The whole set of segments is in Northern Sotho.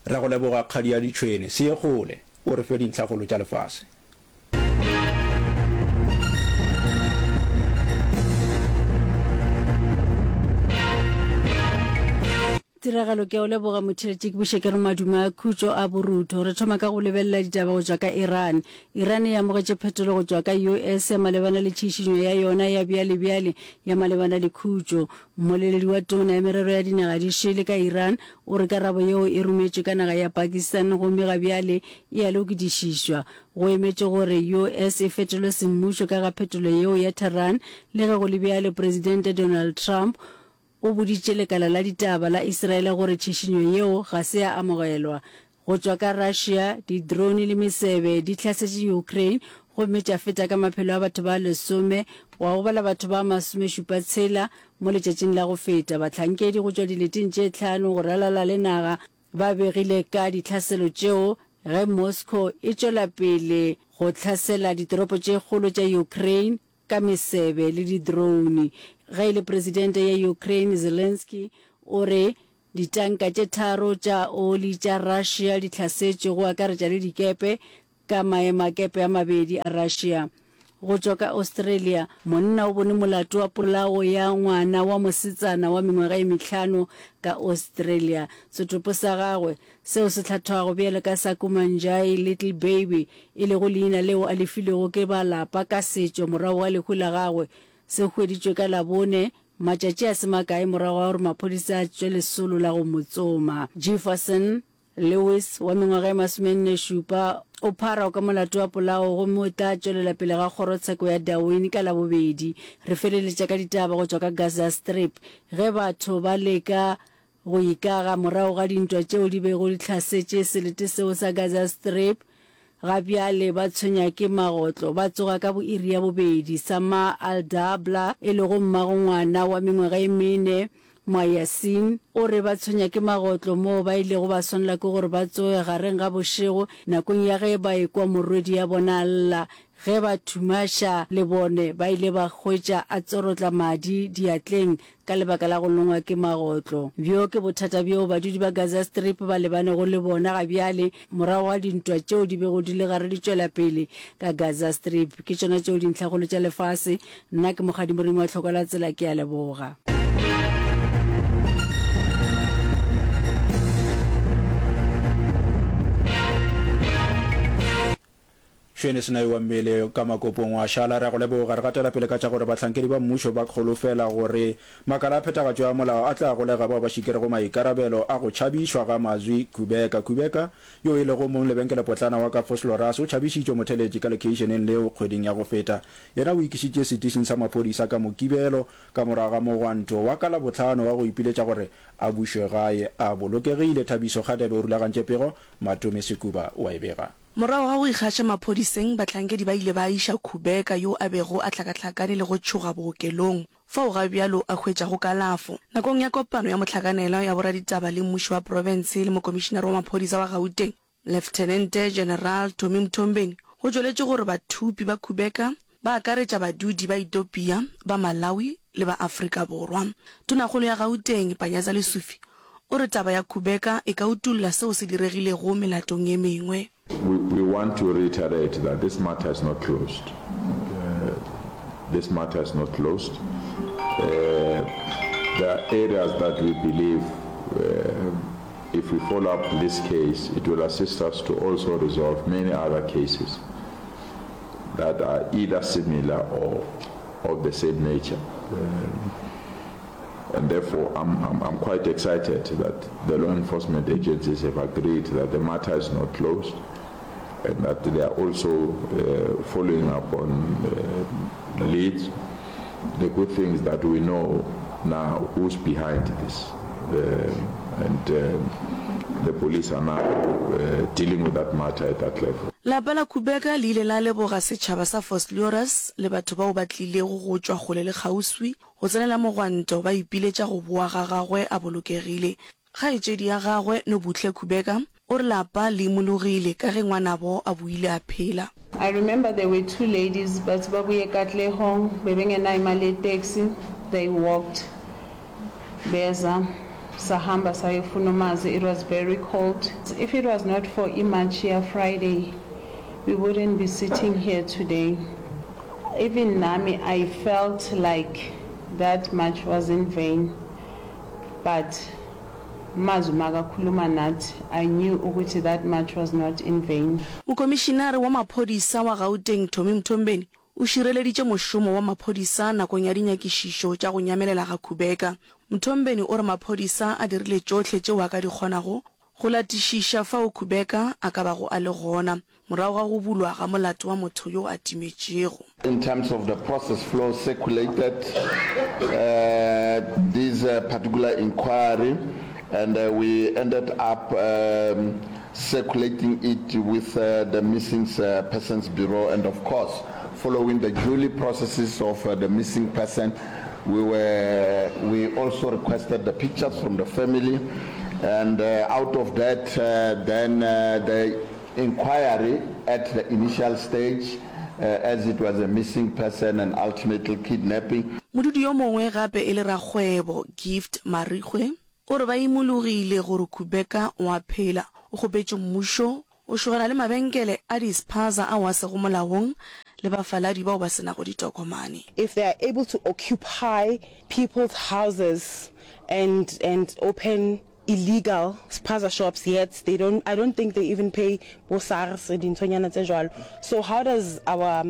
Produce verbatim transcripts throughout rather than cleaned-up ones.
Ra go leboga kgadi ya ditšhwene. Se ye kgole, o re fe dintlhakgolo tša lefase. Tiragalo ke a o leboga motheletši ke buše ke re madume a khutšo a borutho. Re thoma ka go lebelela ditaba go tšwa ka Iran. Iran e amogetše phetolo go tšwa ka US ya malebana le tšhišinyo ya yona ya bjalebjale ya malebana le khutšo. Mmoleledi wa tona ya merero ya dinaga di šele ka Iran o re karabo yeo e rometšwe ka naga ya Pakistan gomme ga bjale e a lokidišišwa. Go emetšwe gore US e fetolwe semmušo ka ga phetolo yeo ya Tehran. Le ge go le bjalo, Presidente Donald Trump o boditše lekala la ditaba la Israele gore tšhišinyo yeo ga se ya amogelwa. Go tšwa ka Russia, di-drone le mesebe di hlasetše Ukraine gomme tša feta ka maphelo a batho ba lesome gwa gobala batho ba masomešupa tshela mo letšatšing la go feta. Bahlankedi go tšwa dileteng tše hlano go ralala le naga ba begile ka ditlhaselo tšeo ge Moscow e tšwela pele go hlasela ditoropo tše kgolo tša Ukraine ka mesebe le di-drone. Ge e le Presidente ya Ukraine Zelenskyy o re ditanka tše tharo tša oli tša Russia di hlasetšwe go akaretša le dikepe ka maemakepe a mabedi a Russia. Go tšwa ka Australia, monna o bone molato wa polao ya ngwana wa mosetsana wa mengwaga e mehlano ka Australia. Setopo sa gagwe, seo se hlathwago bjalo ka sa Kumanjayi Little Baby, e lego leina leo a le filwego ke ba lapa ka setšo morago ga lehu la gagwe, se hweditšwe ka Labone, matšatši a se makae morago ga gore maphodisa a tšwe lesolo la go mo tsoma. Jefferson Lewis, wa mengwaga e masomenne-šupa, o pharwa ka molato wa polao gomme o tla tšwelela pele ga kgorotsheko ya Darwin ka Labobedi. Re feleletša ka ditaba go tšwa ka Gaza Strip ge batho ba leka go ikaga morago ga dintwa tšeo di bego di hlasetše selete seo sa Gaza Strip. Ga bjale ba tshwenya ke magotlo, ba tsoga ka bo iri ya bobedi. Samar Al-Dabla, e lego mmago ngwana wa mengwaga e mene, Moyasin, o re ba tshwenya ke magotlo moo ba ilego ba swanela ke gore ba tsoge gareng ga bošego nakong ya ge ba ekwa morwedi ya bona a lla. Ge ba thumaša lebone, ba ile ba hwetša a tsorotla madi diatleng ka lebaka la go longwa ke magotlo. Bjo ke bothata bjoo badudi ba Gaza Strip ba lebanego le bona ga bjale morago ga dintwa tšeo di bego di le gare di tšwela pele ka Gaza Strip. Ke tšona tšeo dintlhakgolo tša lefase. Nna ke Mokgadi Moremi wa Tlhoko la Tsela, ke a leboga. Šwene Senai wa mmele ka makopong wa šala. Re a go leboga. Re gatela pele ka tša gore bahlankedi ba mmušo ba kgolofela gore makala a phethagatšo ya molao a tla golega bao ba šikerego maikarabelo a go tšhabišwa ga Mazwi Kubeka. Kubeka, yo e lego mong lebenkelepotlana wa ka Vosloorus, o tšhabišitšwe motheletši ka lekheišeneng leo kgweding ya go feta. Yena o ikišitše setišing sa maphodisa ka Mokibelo ka morago ga mogwanto wa ka Labohlano wa go ipiletša gore a bušwe gae a bolokegile. Thabiso Kgadebe o rulagantše pego, Matome Sekuba o a e bega. Morago ga go ikgaša maphodiseng, bahlankedi ba ile ba iša Kubeka yo a bego a hlakahlakane le go tšhoga bookelong, fao ga bjalo a hwetšago kalafo. Nakong ya kopano ya mohlakanelwa ya boraditaba le mmuši wa profense le mokomišinare wa maphodisa wa Gauteng, Leftenente General Tommy Mthombeni, go tšweletše gore bathupi ba Kubeka ba akaretša badudi ba Ethiopia, ba Malawi le ba Afrika Borwa. Tonakgolo ya Gauteng, Panyaza Lesufi, o re taba ya Kubeka e ka utolla seo se diregilego melatong ye mengwe. We, we want to reiterate that this matter is not closed. Uh, this matter is not closed. Uh, there are areas that we believe uh, if we follow up this case, it will assist us to also resolve many other cases that are either similar or of the same nature. Um, and therefore, I'm, I'm, I'm quite excited that the law enforcement agencies have agreed that the matter is not closed and that they are also uh, following up on uh, leads. The good thing is that we know now who's behind this. Um, and um, the police are now uh, dealing with that matter at that level. Lapa la Kubeka le ile la leboga setšhaba sa Vosloorus le batho bao ba tlilego go tšwa kgole le kgauswi go tsenela mogwanto ba ipiletša go boa ga gagwe a bolokegile. Kgaetšedi ya gagwe, Nobuhle Kubeka, o re lapa le imologile ka ge ngwanabo a boile a phela. I remember there were two ladies bathi babuye eKatlehong bebengenayo imali ye-taxi they walked beza Sahamba sayofuna uMazwi, it was very cold. If it was not for imarch ya Friday, we wouldn't be sitting here today. Even nami I felt like that march was in vain but Mazwi makakhuluma nathi I knew ukuthi that march was not in vain. Mokomišinare wa maphodisa wa Gauteng Tommy Mthombeni o šireleditše mošomo wa maphodisa nakong ya dinyakišišo tša go nyamelela ga Kubeka. Mthombeni o re maphodisa a dirile tšohle tšeo a ka di kgonago go latišiša fao Kubeka a ka bago a le gona morago ga go bulwa ga molato wa motho yo a timetšego. In terms of the process flow circulated uh, this uh, particular inquiry and uh, we ended up um, circulating it with uh, the Missing uh, Persons Bureau and of course following the duly processes of uh, the missing person we were we also requested the pictures from the family and uh, out of that uh, then uh, the inquiry at the initial stage uh, as it was a missing person and ultimately kidnapping. Modudi yo mongwe gape e le rakgwebo, Gift Marikgwe, o re ba imologile gore Kubeka o a phela. O kgopetše mmušo go šogana le mabenkele a di-spaza ao a sego molaong le bafaladi bao ba se nago ditokomane. If they are able to occupy people's houses and and open illegal spaza shops yet they don't I don't think they even pay bo SARS dinthonyana tse jwalo so how does our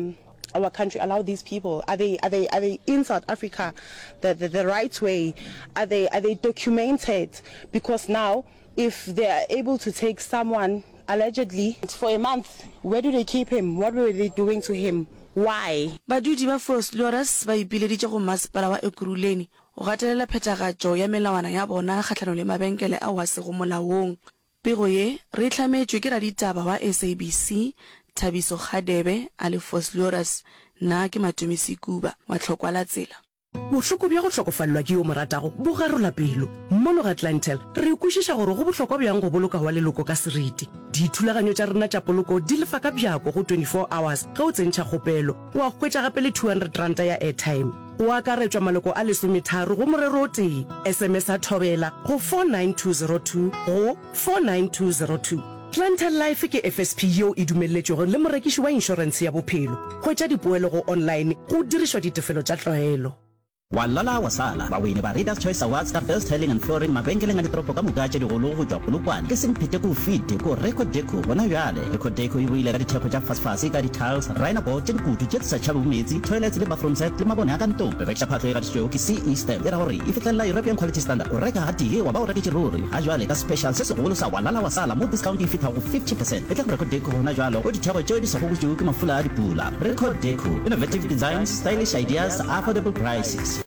our country allow these people are they are they are they in South Africa the the, the right way are they are they documented because now if they are able to take someone allegedly for a month where do they keep him what were they doing to him why Badudi ba Vosloorus ba ipileditše go masepala wa Ekurhuleni go gatelela phethagatšo ya melawana ya bona kgahlanong le mabenkele ao a sego molaong. Pego ye re e hlametšwe ke raditaba wa SABC Thabiso Kgadebe a le Vosloorus. Nna ke Matome Sekuba wa Tlhokwa la Tsela. Bohloko bja go hlokofalelwa ke yo o mo ratago bo garola pelo. Mono ga Clientele, re kwešiša gore go bohlokwa bjang go boloka wa leloko ka seriti. Dithulaganyo tša rena tša poloko di lefa ka bjako go twenty four hours ge o tsentšha kgopelo, wa hwetša gape le two hundred ranta ya airtime. Go akaretšwa maloko a lesometharo go morero o tee. S M S a Thobela go four nine two zero two go four nine two zero two. Clientele Life ke F S P yeo e dumelletšwego le morekiši wa inšorentshe ya bophelo. Hwetša dipoelo go online go dirišwa ditefelo tša tlwaelo. Wa lala wa sala, bawini ba Readers Choice Awards ka Best Tiling and Flooring mabenkeleng a ditoropo ka moka tše digolo go tšwa Polokwane ke Semphete ko fete ko Record Deco gona bjale. Record Deco e boile ka ditheko tša fasefase ka di-tiles, rhino board tše dikutu tše di sa tšhabego meetse, toilets le bathroom set le mabone a ka ntlong. Re rekiša phahlo e gatišitšwego ke C E Stamp e ra gore e fihlelela European Quality Standard. O reka gatee wa ba o reketše ruri. Ga jwale ka special se segolo sa wa lala wa sala mo discount e fihla go fifty percent. Etla go Record Deco gona jwalo go ditheko tšeo di sa gobotšwego ke mafula a dipula. Record Deco, innovative designs, stylish ideas, affordable prices.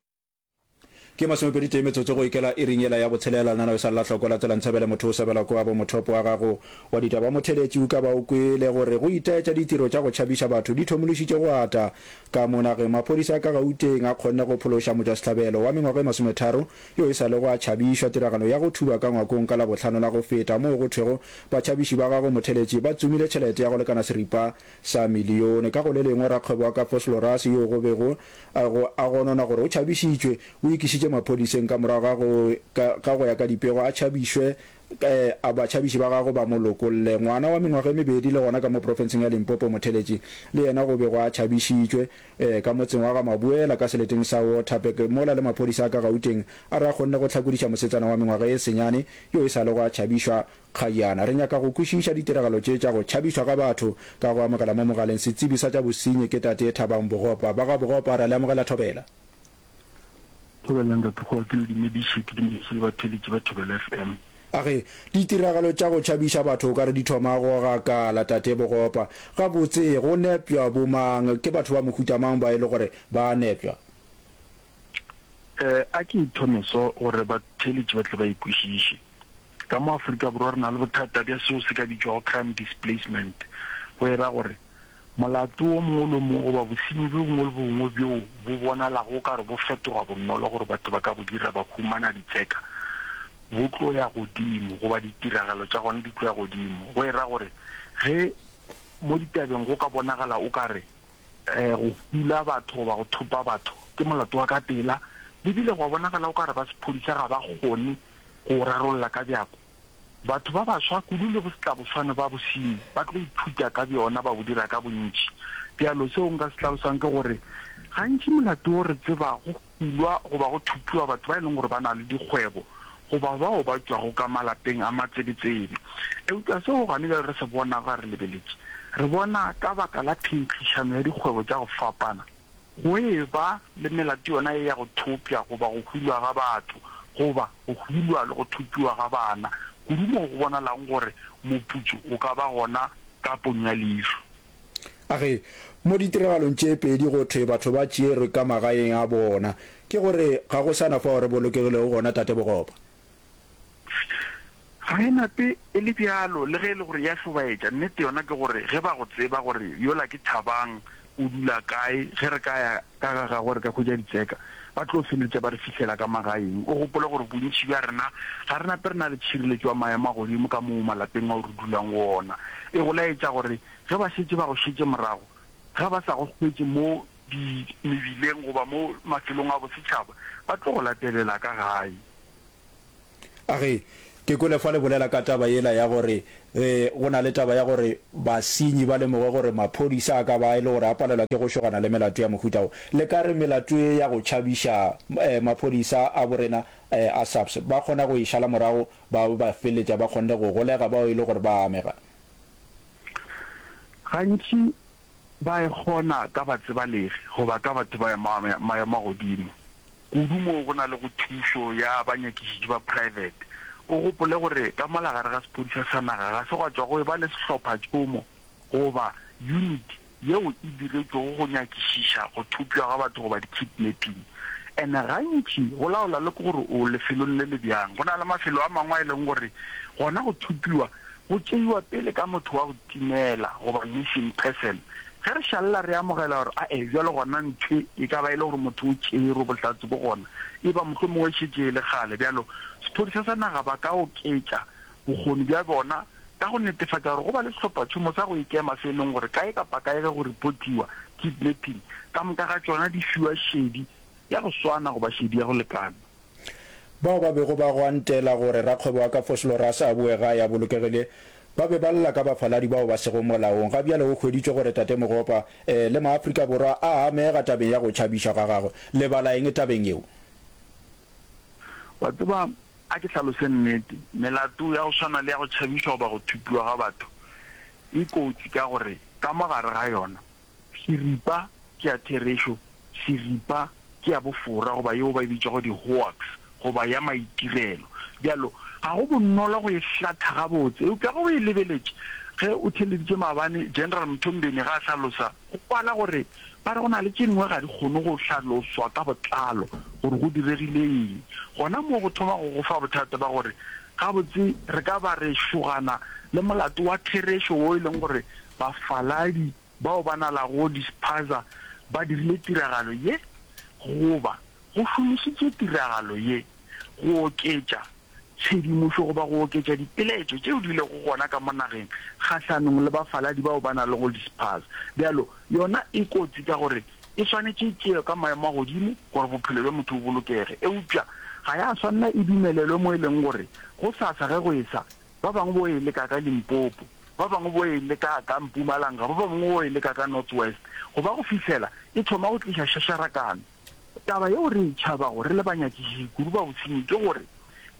Ke masomepedi tee metsotso go ikela iring yela ya botshelela. Lenaneo e sa lela hloko la tsela Ntshebele motho o sebela kwa bo mothopo wa gago wa ditaba. Motheeletši o ka ba o kwele gore go itaetša ditiro tša go tšhabiša batho di thomološitše go ata ka mo nageng. Maphodisa a ka Gauteng a kgonne go phološa motšwasehlabelo wa mengwaga e masometharo yo e sa lego a tšhabišwa tiragalo ya go thuba ka ngwakong ka Labohlano la go feta moo go thwego batšhabiši ba gagwe motheeletši ba tsomile tšhelete ya go lekana seripa sa milione. Ka go le lengwe, rakgwebo wa ka Vosloorus yo go bego a go a gononwa gore o tšhabišitšwe, o ikišitše maphodiseng ka morago ga go ka ga go ya ka dipego a tšhabišwe a batšhabiši ba gagwe ba mo lokolle. Ngwana wa mengwaga e mebedi le gona ka mo profenseng ya Limpopo Motheletši le yena go bego a tšhabišitšwe ka motseng wa ga Mabuela ka seleteng sa Waterberg mola le maphodisa a ka Gauteng a re a kgonne go hlakodiša mosetsana wa mengwaga e senyane yo e sa lego a tšhabišwa Kgajana. Re nyaka go kwešiša ditiragalo tše tša go tšhabišwa ga batho ka go amogela mo mogaleng setsebi sa tša bosenyi ke Tate Thabang Bogopa. Ba ga Bogopa ra le amogela Thobela. Thobela Ntate Kgowa ke le dumediše, ke dumediše le batheeletši ba Thobela F M. A re, Ditiragalo tša go tšhabiša batho o ka re di thoma go gakala Tate Bogopa. Gabotse go nepša bo mang? Ke batho ba mohuta mang ba e le gore ba a nepša? Eh, a ke ithome so gore batheeletši ba tle ba e kwešiše. Ka mo Afrika Borwa re na le bothata bja seo se ka bitšwago crime displacement, go e ra gore molato wo mongwe le wo mongwe goba bosenyi bjo bongwe le bongwe bjoo bo bonalago o ka re bo fetoga bonolo gore batho ba ka bo dira ba humana ditseka, bo tlo ya godimo goba ditiragalo tša gona di tlo ya godimo. Go e ra gore ge mo ditabeng go ka bonagala o ka re go hula batho goba go thopa batho ke molato wa ka pela, le bile gwa bonagala o ka re ba sephodisa ga ba kgone go o rarolla ka bjako, batho ba baswa kudu le bosetlaboswane ba bosenyi ba tlo ithuta ka bjona ba bo dira ka bontši. Bjalo seo nka se hlalosang ke gore gantši molato wo re tseba go hulwa goba go thupiwa batho ba e leng gore ba na le dikgwebo goba bao ba tšwago ka malapeng a matsebetsebe. Eupša seo gane bjale re se bonago ga re lebeletše, re bona ka baka la phenkgišano ya dikgwebo tša go fapana, go e ba le melato yona ye ya go thopša goba go hulwa ga batho, goba go hulwa le go thopiwa ga bana, kudu moo go bonalago gore moputso o ka ba gona ka ponyo ya leihlo. A re, Mo ditiragalong tše pedi go thwe batho ba tšerwe ka magaeng a bona. Ke go re ga go sa na fao re bolokegilego gona, Tate Bogopa. Ga e nape e le bjalo, le ge e le gore e a hlobaetša. Nnete yona ke gore ge ba go tseba gore yola ke Thabang, o dula kae, ge re ka ya ka ga gagwe re ka hwetša ditseka, ba tlo feleletša ba re fihlela ka magaeng. O gopole gore bontši bja rena ga re nape re na le tšhireletšo ya maemo a godimo ka moo malapeng ao re dulang go ona. E go laetša gore Ge ba šetše ba go šetše morago, ge ba sa go hwetše mo di mebileng goba mo mafelong a bosetšhaba, ba tlo go latelela ka gae. A re, Ke kwele fa le bolela ka taba yela ya gore ge go na le taba ya gore basenyi ba lemoge gore maphodisa a ka ba e le gore a palelwa ke go šogana le melato ya mohuta wo. Le ka re melato ye ya go tšhabiša maphodisa a borena a SAPS ba kgona go e šala morago ba ba feleletša ba kgonne go golega bao e le gore ba amega? Gantši ba e kgona ka batsebalegi goba ka batho ba maemo a godimo, kudu moo go na lego thušo ya banyakišiši ba praebete. O gopole gore ka mola gare ga sephodisa sa naga ga se gwa tšwa go eba le sehlophatšhomo goba unit yeo e diretšwego go nyakišiša go thopša ga batho goba di-kidnapping. And gantši go laola le ke gore o lefelong le le bjang. Go na le mafelo a mangwe a e leng gore gona go thopiwa go tšeiwa pele ka motho wa go timela goba missing person. Ge re šalela re amogela gore ae bjalo gona nthwe e ka ba e le gore motho o tšerwe, bohlatse bo gona, e ba mohlomongwe e šetše e le kgale. Bjalo sephodisa sa naga ba ka oketša bokgoni bja bona ka go netefatša gore go ba le sehlophatšhomo sa go ikema se e leng gore kae kapa kae ge go repotiwa kidnapping, ka moka ga tšona di fiwa šedi ya go swana goba šedi ya go lekana. Bao ba bego ba gwantela gore rakgwebo wa ka Vosloorus a boe gae a bolokegile, ba be ba lla ka bafaladi bao ba sego molaong. Ga bjale go hweditšwe gore Tate Mogopa le maAfrika Borwa a amega tabeng ya go tšhabišwa ga gagwe. Le bala eng tabeng yeo? Wa tseba, a ke hlalose nnete, melato ya go swana le ya go tšhabišwa goba go thupiwa ga batho e kotsi ka gore ka mo gare ga yona seripa ke ya therešo, seripa ke ya bofora goba yeo ba e bitšago di-hoax goba ya maitirelo. Bjalo, ga go bonolo go e hlatha gabotse. Eupša ge o e lebeletše, ge o theeleditše maabane General Mthombeni ge a hlalosa, go kwala gore ba re go na le tše dingwe ga di kgone go hlaloswa ka botlalo gore go diregile eng. Gona moo go thoma go go fa bothata ba gore gabotse re ka ba re šogana le molato wa therešo wo e leng gore bafaladi bao ba nalago di-spaza ba dirile tiragalo ye goba go šomišitše tiragalo ye go oketša tshedimošo goba go oketša dipeletšo tšeo di lego gona ka mo nageng kgahlanong le bafaladi bao ba nalego di-spaza. Bjalo yona e kotsi ka gore e swanetše e tšewe ka maemo a godimo gore bophelo bja motho bo bolokege, eupša ga ya swanela e dumelelwe mo e leng gore gosasa ge go esa ba bangwe bo e leka ka Limpopo, ba bangwe bo e leka ka Mpumalanga, ba bangwe bo e leka ka North West, go ba go fihlela e thoma go tliša šašarakano. Taba yeo re e tšhabago re le banyakišiši kudu ba bosenyi ke gore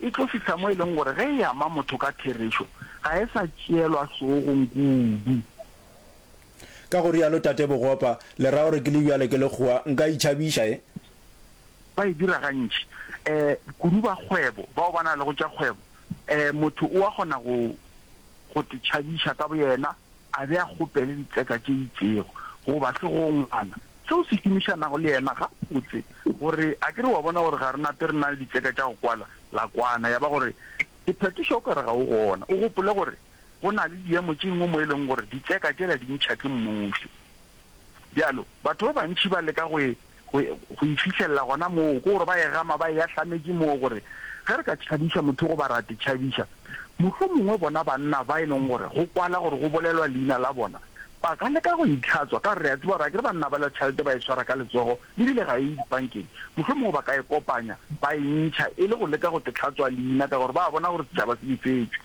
e tlo fihla mo e leng gore ge e ama motho ka therešo ga e sa tšeelwa hlogong kudu. Ka go rialo Tate Bogopa, le ra gore ke le bjale ke lekgowa nka itšhabiša, e? Ba e dira gantši, um kudu ba kgwebo, bao ba na lego tša kgwebo. Um motho o a kgona go, go te tšhabiša ka boyena, a be a kgopele ditseka tše itšego, goba segongwana seo se šomišanago le yena gabotse, gore a ke re wa bona gore ga re nape re na le ditseka tša go kwala, la kwana, ya ba gore sephetošo o ka re ga o gona. O gopole gore go na le diemo tše dingwe mo e leng gore ditseka tšela di ntšha ke mmušo. Bjalo, batho ba bantši ba leka go e, go, go e fihlelela gona moo, ke gore ba e gama ba e ahlametše moo, gore ge re ka tšhabiša motho goba ra te tšhabiša, mohlomongwe bona banna ba e leng gore go kwala gore go bolelwa leina la bona, Ba ka leka go itlhatswa ka gore re a tseba gore akere banna bala tšhelete ba e swara ka letsogo ebile ga e ye dipankeng. Mohlomongwe ba ka e kopanya ba e ntšha e le go leka go te hlatswa leina ka gore ba a bona gore setšhaba se befetšwe.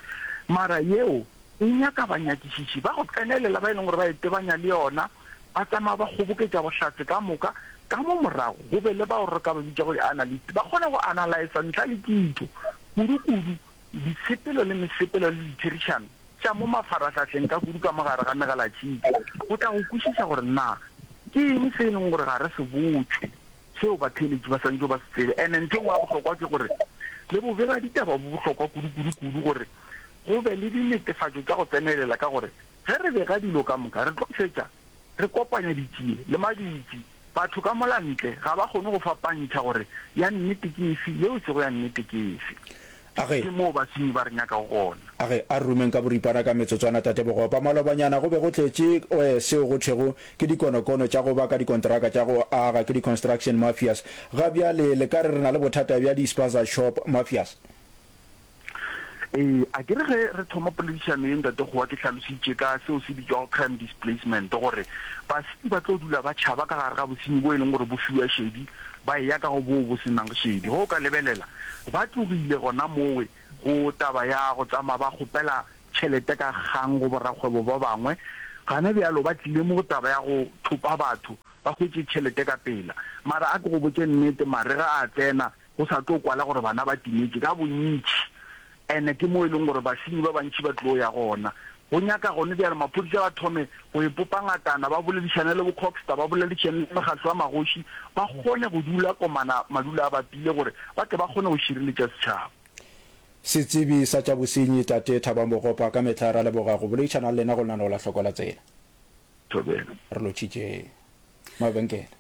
Mara yeo e nyaka banyakišiši ba go tsenelela ba e leng gore ba e tebanya le yona, ba tsamaya ba kgoboketša bohlatse ka moka, ka mo morago go be le bao re ka ba bitšago di-analyst ba kgone go analysa ntlha le kitso, kudu-kudu ditshepelo le mesepelo le ditherišano tša mo mafarahlahleng ka kudu ka mo gare ga megalatšhika, go tla go kwešiša gore na ke eng se e leng gore ga re se botšwe seo batheeletši ba swanetšego ba se tsebe. And-e ntho e nngwe ya bohlokwa ke gore le bobegaditaba bo bohlokwa kudu-kudu-kudu gore go be le dinetefatšo tša go tsenelela ka gore ge re bega dilo ka moka re tlo fetša re kopanya ditšie le madutši. Batho ka mola ntle ga ba kgone go fapantšha gore ya nnete ke efe yeo e sego ya nnete ke efe. A ge. Ke moo basenyi ba re nyakago gona. A ge, a re rumeng ka boripana ka metsotswana, Tate Bogopa. Malobanyana go be go tletše oe seo go thwego ke dikonokono tša go baka dikonteraka tša go aga, ke di-construction mafias. Ga bjale le ka re re na le bothata bja di-spaza shop mafias? Ee, a ke re ge re thoma poledišano ye, Ntate Kgowa, ke hlalositše ka seo se bitšwago crime displacement, gore basenyi ba tlo dula ba tšhaba ka gare ga bosenyi bo e leng gore bo fiwa šedi, ba eya ka go boo bo se nang šedi. Ge o ka lebelela, ba tlogile gona mowe go taba ya go tsamaya ba kgopela tšhelete ka kgang go borakgwebo ba bangwe. Gana bjalo ba tlile mo go taba ya go thopa batho ba hwetše tšhelete ka pela. Mara a ke go botše nnete, marega a tsena go sa tlo kwala gore bana ba timetše ka bontši. Ene ke mo e leng gore basenyi ba bantši ba tlo ya gona. Go nyaka gone bjale maphodisa ba thome go ipopa ngatana, ba boledišane le bo-Cogstar, ba boledišane le mekgatlo ya magoši, ba kgone go dula komana madulo a bapile gore ba tle ba kgone go šireletša setšhaba. Setsebi sa tša bosenyi Tate Thabang Bogopa, ka mehla ra leboga go boledišana le lena go lenaneo la Hloko la Tsela. Thobela. Re lotšhitše mabenkele.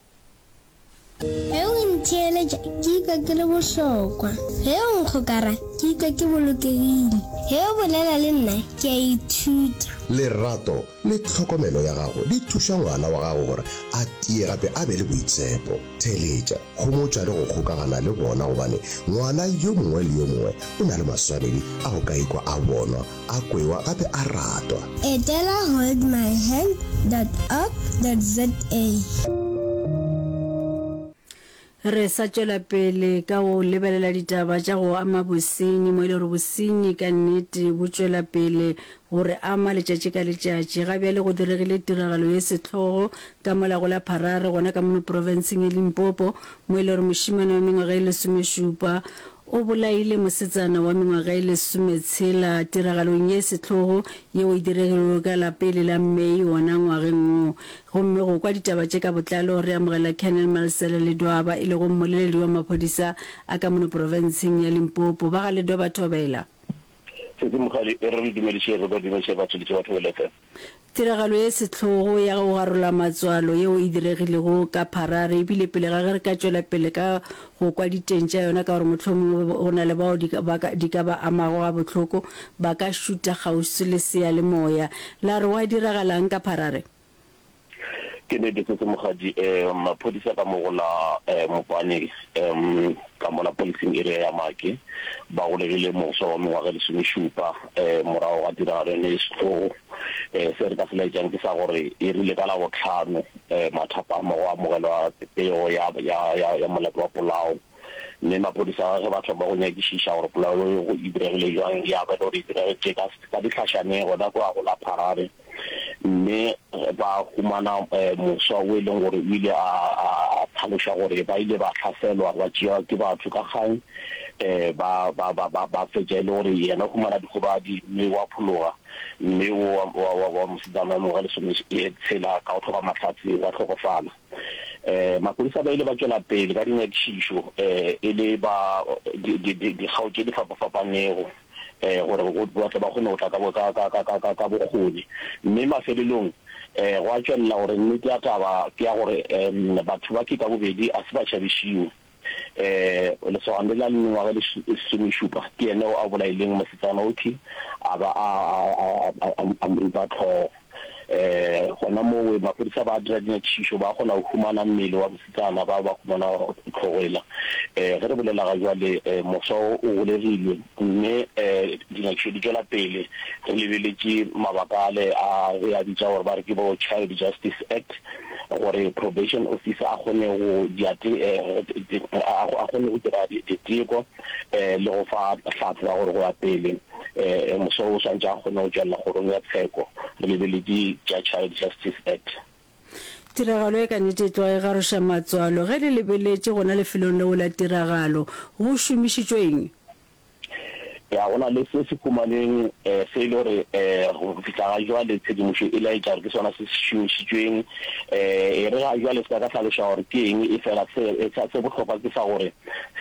Ge o ntheeletša ke ikwa ke le bohlokwa. Ge o nkgokara ke ikwa ke bolokegile. Ge o bolela le nna ke a ithuta. Lerato le tlhokomelo ya gago di thuša ngwana wa gago gore a tie gape a be le boitshepo. Theeletša, homotša le go kgokagana le bona gobane ngwana yo mongwe le yo mongwe o na le maswanedi a go ka ikwa a bonwa, a kwewa gape a ratwa. Etela holdmyhand dot org dot za. Re sa tšwela pele ka go lebelela ditaba tša go ama bosenyi, mo e le gore bosenyi ka nnete bo tšwela pele go re ama letšatši ka letšatši. Ga bjale go diregile tiragalo ye sehlogo ka mola go la Pharare gona ka mono profenseng ya Limpopo, mo e le gore mošemane wa mengwaga ye lesomešupa o bolaile mosetsana wa mengwaga e lesometshela tiragalong ye sehlogo yeo e diregilego ka la pele la May wona ngwageng wo. Gomme go kwa ditaba tše ka botlalo re amogela Colonel Malesela Ledwaba e lego mmoleledi wa maphodisa a ka mono profenseng ya Limpopo. Ba ga Ledwaba thobela. Sesi Mogale, e re re dumediše re ba dumediše batšweletši ba Thobela F M. Tiragalo ye sehlogo ya go garola matswalo yeo e diregilego ka Pharare e bile pele ga ge re ka tšwela pele ka go kwa diteng tša yona ka gore mohlomongwe go na le bao di ka ba di ka ba amago gabohloko ba ka šuta kgauswi le seyalemoya. La re gwa diragalang ka Pharare? Ke nnete se se Mokgadi, um maphodisa ka mo go la Mopane um ka mola policing area ya Maake ba golegile mofsa wa mengwaga e lesomešupa um morago ga tiragalo yone e sehlogo. Um se re ka se laetšang ke sa gore e rile ka Labohlano um mathapama go amogelwa pego ya, ya, ya, ya molato wa polao, mme maphodisa ge ba thoma go nyakišiša gore polao eo e diregile bjang, ya ba e le gore e diregetše ka, ka dihlašaneng gona kua go la Pharare. Mme ba humana moswa o e leng gore o ile a hlaloša gore ba ile ba hlaselwa, ba tšewa ke batho ka kgang, ba ba ba ba ba fetša e le gore yena o humana dikgobadi mme wa phologa, mme o wa wa wa wa mosetsana wa mengwaga e lesome tshela ka go hloka mahlatse wa hlokofala. Maphodisa ba ile ba tšwela pele ka dinyakišišo e le ba dikgao tše di fapafapanego. gore ba tle ba kgone go tla ka, ka, ka, ka, ka, ka bokgoni. Mme mafelelong um gwa tšwelela gore nnete ya taba ke ya gore um batho ba ke ka bobedi a se ba tšhabišiwe. Um lesogana le la mengwaga e lesomešupa ke yena a bolaileng mosetsana othi a ba a, a, a, a, a mo ripa hlogo. Um gona mowe maphodisa ba dira dinyakišišo, ba kgona go humana mmele wa mosetsana, ba ba humana hlogo ela. Um ge re bolela ga jwale, mofsa o o golegilwe, mme um dinyakišišo di tšwela pele re lebeletše mabaka ale a re a bitša gore ba re ke bo Child Justice Act, gore probation officer a kgone go dia a kgone go dira diteko le go fa hlatse ya gore go ya pele mofsa o swantše a kgone go tšwelela kgorong ya tsheko re lebeletše tša Child Justice Act. Tiragalo ye ka nnete e tloga e garoša matswalo. Ge le lebeletše gona lefelong leo la tiragalo, go šomišitšwe eng? Ya, go na le se se humanweng se e le gore go fihla ga jwale tshedimošo e laetša gore ke sona se se šomišitšweng. E re ga jwale se ka ka hlaloša gore ke eng, efela se se bohlokwa ke sa gore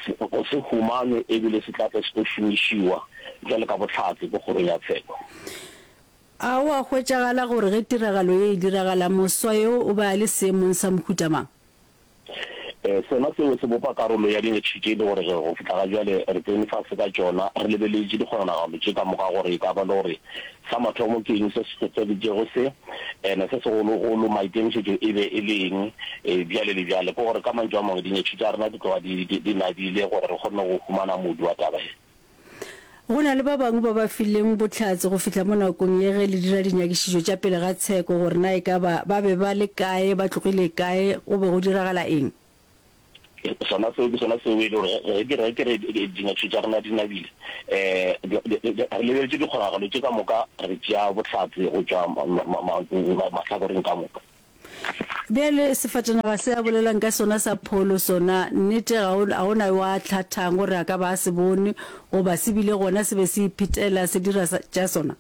se humanwe ebile se tla tle se tlo šomišiwa bjalo ka bohlatse ko kgorong ya tsheko. A go a hwetšagala gore ge tiragalo ye e diragala, moswa yo o be a le seemong sa mohuta mang? Sona seo se bopa karolo ya dinyakišišo tše e le gore go fihla ga bjale re tsene fase ka tšona, re lebeletše dikgononagalo tše ka moka gore e ka ba le gore sa mathomo ke eng se se hlohleleditšego se, ene se segologolo maikemišetšo e be e le eng, bjale le bjale. Ke gore ka mantšu a mangwe dinyakišišo tša rena di tloga di di nabile gore re kgone go humana modu wa taba ye. Go na le ba bangwe ba ba fileng bohlatse go fihla mo nakong ye ge le dira dinyakišišo tša pele ga tsheko gore na e ka ba ba be ba le kae, ba tlogile kae, go be go diragala eng. Sona seo ke sona seo e le gore ge ke re, ge ke re dinyakišišo tša rena di nabile, um re lebeletše dikgonagalo tše ka moka, re tšea bohlatse go tšwa mahlakoreng ka moka. Bjale, sefatanaga se a bolelang ka sona sa pholo, sona, nnete, ga o, ga o na yo a hlathang gore a ka ba a se bone, goba se bile gona se be se iphetela se dira sa, tša sona.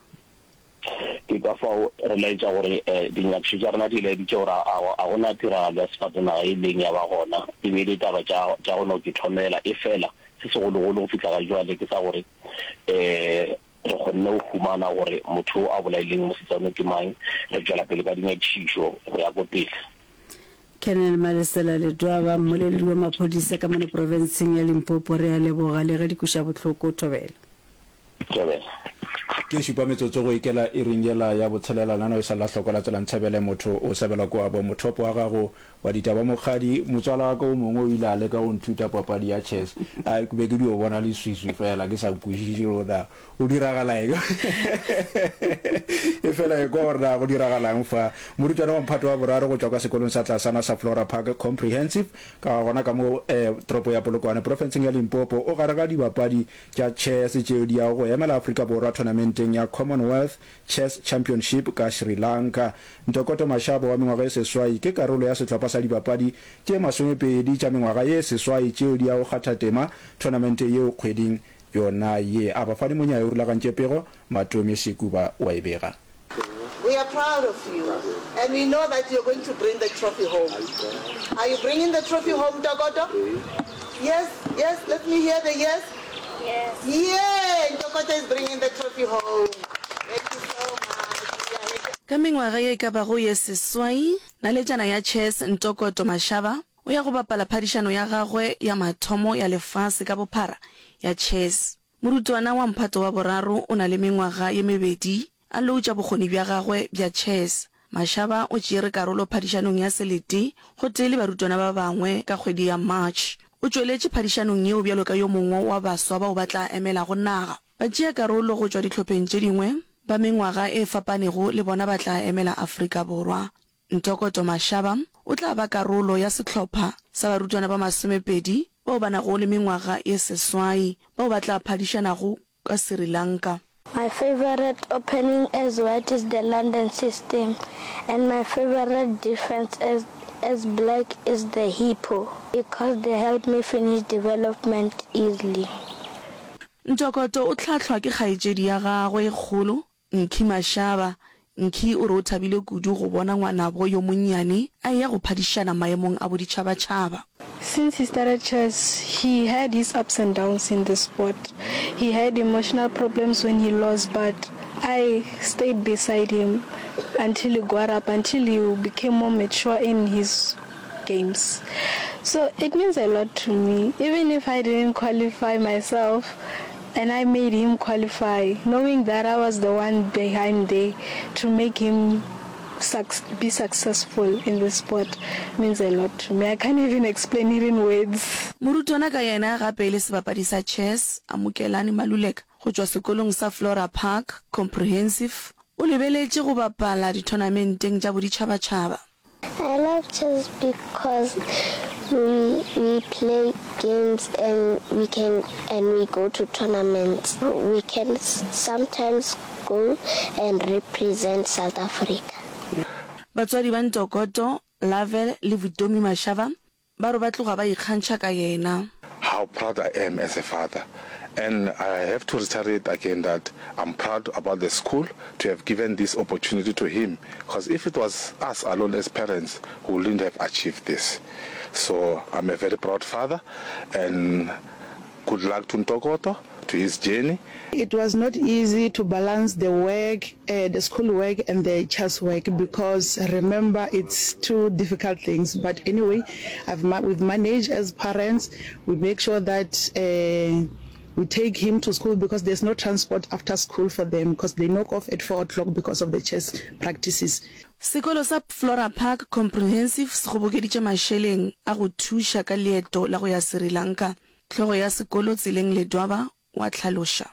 Ke ka fao re laetša gore dinyakišišo tša rena di laeditše gore a, a go na tiragalo ya sefatanaga e ileng ya ba gona, e be e le taba tša, tša go no ke thomela. Efela, se segologolo go fihla ga jwale ke sa gore, um Re kgonne go humana gore motho yo a bolaileng mosetsana ke mang. Re tšwela pele ka dinyakišišo go ya ko pele. Colonel Malesela Ledwaba, mmoleledi wa maphodisa ka mono profenseng ya Limpopo, Re a leboga le ge di kweša bohloko. Thobela. Thobela. Ke šupa metsotso go ikela iring yela ya botshelela nano e sa la hloko la tsela ntshebele motho o sebelwa kwabo mothopo wa gago Wa ditaba Mokgadi, motswala wa ka o mongwe o ile a leka go nthuta papadi ya chess. A ke be ke dio bona leswiswi fela, ke sa kwešiše gore na go diragala eng. Efela ekwa gore na go diragalang fa. Morutwana wa mphato wa boraro go tšwa kwa sekolong sa tlasana sa Flora Park Comprehensive ka gona ka mo toropo ya Polokwane profenseng ya Limpopo o gare ga dibapadi tša chess tšeo di yago go emela Afrika Borwa tournamenteng ya Commonwealth Chess Championship ka Sri Lanka. Ntokoto Mashaba wa mengwaga e seswai ke karolo ya sehlopha sa dibapadi tše masomepedi tša mengwaga ye seswai tšeo di yago kgatha tema tournamente yeo kgweding yona ye. Abafani Monyai o rulagantše pego, Matome Sekuba o a e bega. We are proud of you and we know that you're going to bring the trophy home. Are you bringing the trophy home, Ntokoto? Yes, yes, let me hear the yes. Yes. Yeah, Ntokoto is bringing the trophy home. Thank you so much. We are happy. Ka mengwaga ye e ka bago ye seswai, naletšana ya chess Ntokoto Mashaba o ya go bapala phadišano ya gagwe ya mathomo ya lefase ka bophara ya chess. Morutwana wa mphato wa boraro o na le mengwaga ye mebedi a loutša bokgoni bja gagwe bja chess. Mashaba o tšeere karolo phadišanong ya selete gotee le barutwana ba bangwe ka kgwedi ya March. O tšweletše phadišanong yeo bjalo ka yo mongwe wa baswa bao ba tla emelago naga. Batšeakarolo go tšwa dihlopheng tše dingwe ba mengwaga e fapanego le bona ba tla emela Afrika Borwa. Ntokoto Mashaba o tla ba karolo ya sehlopha sa barutwana ba masomepedi bao ba nago le mengwaga ye seswai bao ba tla phadišanago ka Sri Lanka. My favourite opening as white is the London system and my favourite defence as as black is the hippo because they help me finish development easily. Ntokoto o hlahlwa ke kgaetšedi ya gagwe e kgolo, Nkhi Mashaba. Nkhi o re o thabile kudu go bona ngwanabo yo monnyane a eya go phadišana maemong a boditšhabatšhaba. Since he started chess, he had his ups and downs in the sport. He had emotional problems when he lost, but I stayed beside him until he got up, until he became more mature in his games. So it means a lot to me, even if I didn't qualify myself and I made him qualify, knowing that I was the one behind there to make him be successful in this sport means a lot to me. I can't even explain it in words. Morutwana ka yena gape e le sebapadi sa chess, Amukelani Maluleka, go tšwa sekolong sa Flora Park Comprehensive, o lebeletše go bapala dithonamenteng tša boditšhabatšhaba. I love chess because we, we play games and we can and we go to tournaments. We can sometimes go and represent South Africa. Batswadi ba Ntokoto, Lovell le Vutomi Mashaba ba re ba tloga ba ikgantšha ka yena. How proud I am as a father and I have to reiterate again that I'm proud about the school to have given this opportunity to him because if it was us alone as parents we wouldn't have achieved this. So I'm a very proud father and good luck to Ntokoto to his journey. It was not easy to balance the work, uh, the school work and the chess work because remember it's two difficult things. But anyway, I've ma- we've managed as parents. We make sure that uh, we take him to school because there's no transport after school for them because they knock off at four o'clock because of the chess practices. Sekolo sa Flora Park Comprehensive se kgobokeditše mašeleng a go thuša ka leeto la go ya Sri Lanka. Hlogo ya sekolo Tseleng Ledwaba o a hlaloša.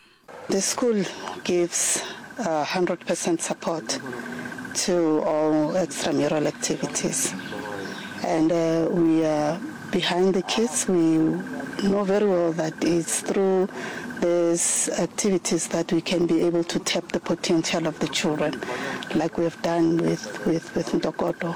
The school gives a hundred percent support to all extramural activities and we are behind the kids. We know very well that it's through these activities that we can be able to tap the potential of the children like we have done with, with, with Ntokoto.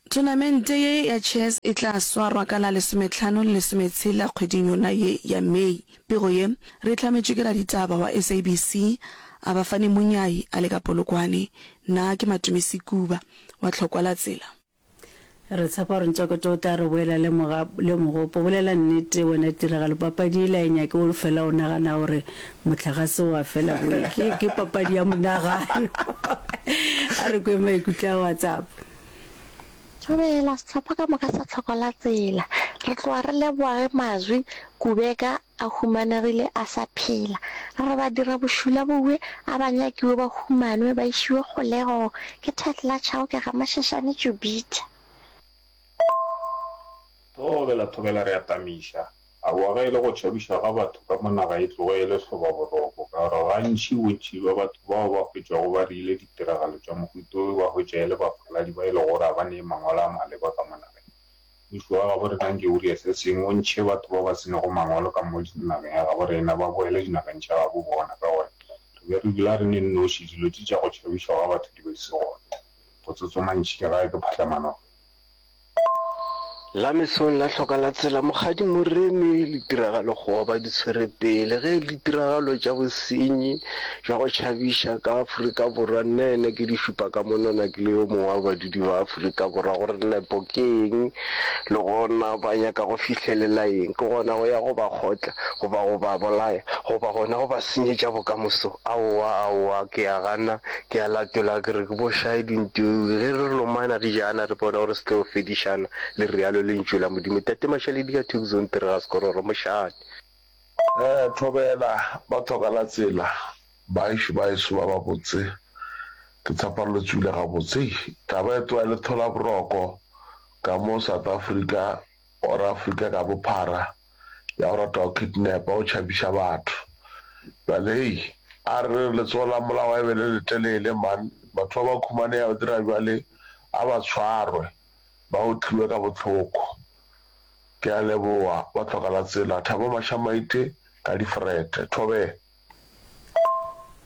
Thonamente ye ya chess e tla swarwa ka la lesometlhano le lesometshela kgweding yona ye ya May. Pego ye re e hlametšwe ke raditaba wa SABC Abafani Munyai a le ka Polokwane. Nna ke Matome Sekuba wa Tlhokwa la Tsela. Re tshepa gore Ntsokoto o tla re boela le moga, le mogopo. Bolela nnete wena Tiragalo, papadi yela e nyake o fela o nagana gore mohlagase wa fela boe. Ke, ke papadi ya monagano. A re kwe maikutlo a WhatsApp. Thobela, sehlopha ka moka sa Tlhoko la Tsela. Re tloga re leboga ge Mazwi Kubeka a humanegile a sa phela. Re re badirabošula bowe a ba nyakiwe ba humanwe ba išiwe kgolegong. Ke Thatla Chauke ga Mashashane Jubitha. Thobela, thobela re a tamiša. Aowa ge e le go tšhabišwa ga batho ka mo naga e tloge e le hlobaboroko ka gore gantši bontši bja batho bao ba hwetšwago ba reile ditiragalo tša mohuta wo ba hwetša e le bafaladi ba e lego gore ga ba nee mangwalo a maleba ka mo nageng. Mmušo wa gabo rena nke o rie se sengwe o ntšhe batho ba ba se nego mangwalo ka mo nageng ya gabo rena ba boele dinageng tša gabo bona ka gore re be re dula re ne nnoši dilo tše tša go tšhabišwa ga batho di be di se gona. Botsotso mantši ke gae ke phahlamanong. La mesong la hloka la tsela Mokgadi Moremi le tiragalo goba di tshwere pele ge e le ditiragalo tša bosenyi bja go tšhabiša ka Afrika Borwa nna ene ke di šupa ka monwana ke le yo mongwe wa badudi ba Afrika Borwa gore nepo ke eng le gona ba nyaka go fihlelela eng ke gona go ya go ba kgotla goba go ba bolaya goba gona go ba senyetša bokamoso aowa aowa ke a gana ke a latola ke re ke bošae dintowi ge re lomana re jana re bona gore se tlo fedišana le realo Lentšu la Modimo. Tate Mašaledi ka Tucson, Tire ga Sekororo, mošate. Eh, thobela, ba tlhoka la tsela, baešu baeso ba babotse, ke tshepa le tswile gabotse. Hei, taba e tloga e le thola boroko ka mo South Africa or Afrika ka bophara ya go rata go kidnapa, go tšhabiša batho. Bjale hei, a re re letsogo la molao e be le letelele man, batho ba ba khumaneya ba dira bjale a ba tshwarwe. Ba otliwe ka bohloko. Ke a leboga ba hloka la tsela. Thabo Mashamaite ka difrete. Thobela.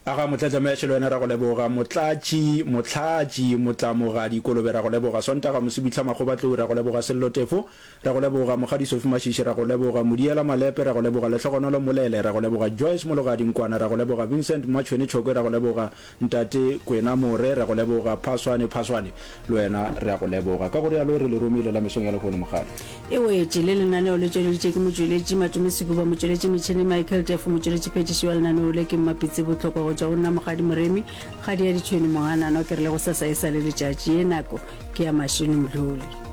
Aga Motlatšamešo le wena ra go leboga. Motlatši, Mohlatši, Motlamogadi Kolobe ra go leboga. Sontaga Mosibihla Makgobatlou ra go leboga. Sello Tefo ra go leboga. Mokgadi Sophie Mashishi ra go leboga. Modiela Malepe ra go leboga. Lehlogonolo Molele ra go leboga. Joyce Mologadi Nkwana ra go leboga. Vincent Mmatšhwene Tšhokwe ra go leboga. Ntate Kwena More, re a go leboga. Phaswane, Phaswane, le wena re a go leboga. Ka go rialo re le romile la mesong ya lehono, Mokgadi. E wetše. Le lenaneo le tšweleditše ke motšweletši Matome Sekuba, motšweletši metšhene Michael Tefo, motšweletši phethiši wa lenaneo le ke Mmapitsi Bohlokwa go tšwa go nna Mokgadi Moremi, Kgadi ya Ditšhwene Mohananwa. Ke re le gosasa e sa le letšatši, ye nako ke ya Mašeno Mdluli.